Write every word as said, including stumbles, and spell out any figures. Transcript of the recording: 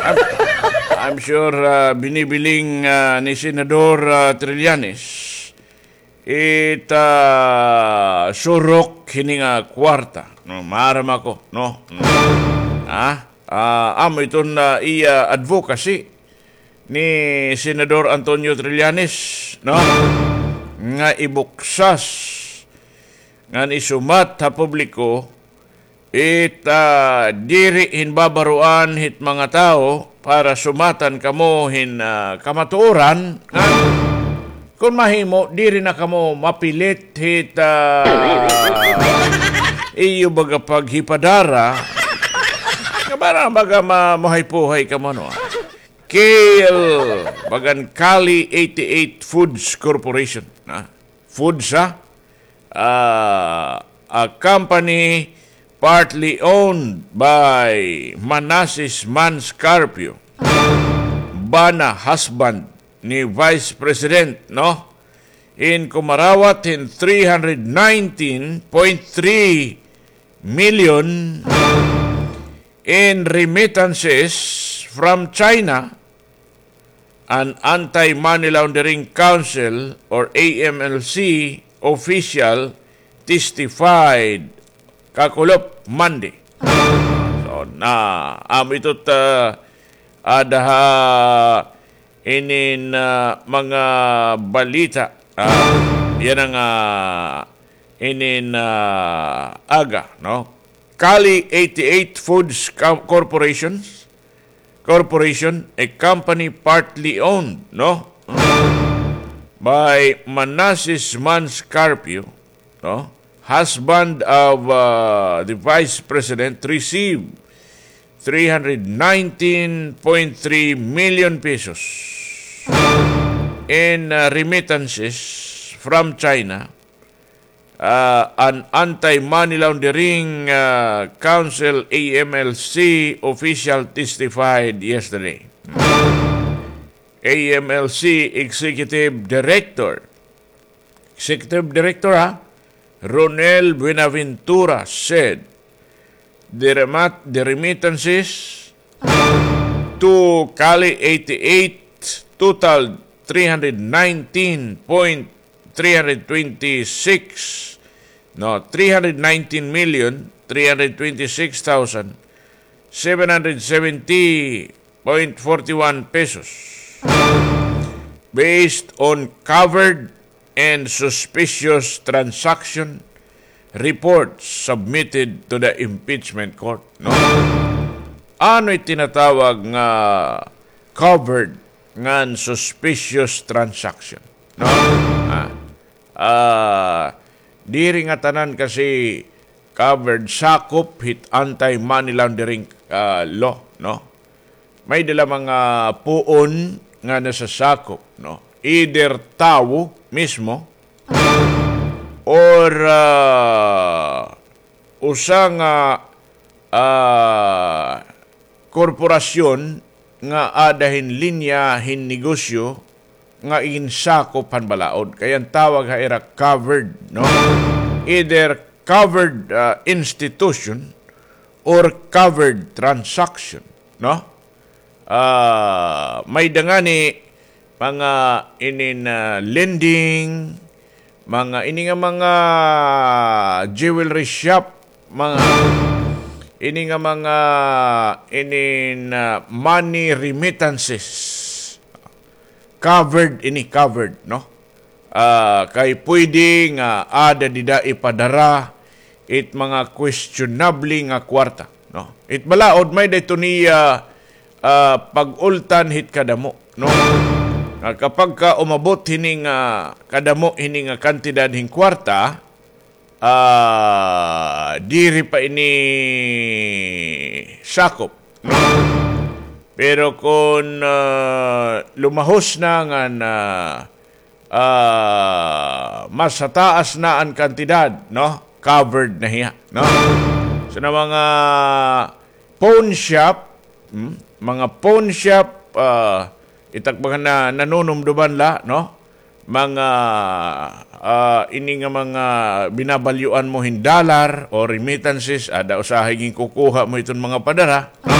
I'm, I'm sure, ah, binibiling, ah, ni Senador, ah, Trillanes it, ah, surok hini nga kwarta. No, maaram ako, no? Mm. Ha? Ah, amo iton, ah, iya advocacy ni Senador Antonio Trillanes, no? Nga ibuksas ngan isumat ha publiko it, ah, diri hinbabaroan hit mga tawo para sumatan kamo hin, ah, kamatuoran, ngan kon mahimo, diri na kamo mapilit hit, ah, iyo baga paghipadara. Nga para baga ma-, mahay-puhay kamo, no? Kale, bagan Kali eighty-eight Foods Corporation, ha? Foods, ha? Ah, a company partly owned by Manases Mans Carpio, bana husband ni Vice President, no? In kumarawat hin three hundred nineteen point three million in remittances from China, an Anti-Money Laundering Council or A M L C official testified kakulop Monday. So, na, amo ito ta, ada ha inin, ah, mga balita. Ah, yana nga, ah, inin, ah, aga, no? Kali eighty-eight Foods Co-, Corporations, Corporation, a company partly owned, no? By Manases Mans Carpio, no? Husband of, uh, the Vice President, received three hundred nineteen point three million pesos in, uh, remittances from China, uh, an Anti-Money Laundering, uh, Council, A M L C, official testified yesterday. A M L C Executive Director, Executive Director, ha, Ronel Buenaventura said the remat-, the remittances to Kali eighty-eight totaled three hundred nineteen point three hundred twenty-six, no, three hundred nineteen million three hundred twenty-six thousand seven hundred seventy point forty-one pesos, based on covered and suspicious transaction reports submitted to the impeachment court, no? Ano it tinatawag nga covered ngan suspicious transaction, no? Ah, ah, diri ngatanan kasi covered, sakop hit anti-money laundering, ah, law, no? May-ada la mga puon nga nasasakop, no? Either tawo mismo or, ah, usa nga, ah, korporasyon nga ada hin linya hin negosyo nga ginsakop han balaod. Kay an tawag ha ira covered, no? Either covered, ah, institution or covered transaction, no? Ah, may-ada ngani mga inin, ah, lending, mga ini nga mga jewelry shop, mga ini nga mga inin, ah, money remittances. Covered ini, covered, no? Ah, kay pwede nga ada dida ipadara it mga questionable nga kwarta, no? It balaod may-ada ito niya, ah, pag-ultan hit kadamo, no? Nga kapag ka umabot hini nga kadamo, hini nga kantidad hin kwarta, ah, diri pa ini sakop, no? Pero kon, ah, lumahos na ngan, ah, ah, mas hataas na an kantidad, no? Covered na hiya, no? So, na mga pawn shop, hmm? Mga pawn shop, ah, itakbahan na nanunumduman la, no? Mga, ah, ini nga mga binabalyuan mo hin dollar o remittances, ada usahay ginkukuha mo iton mga padara, no?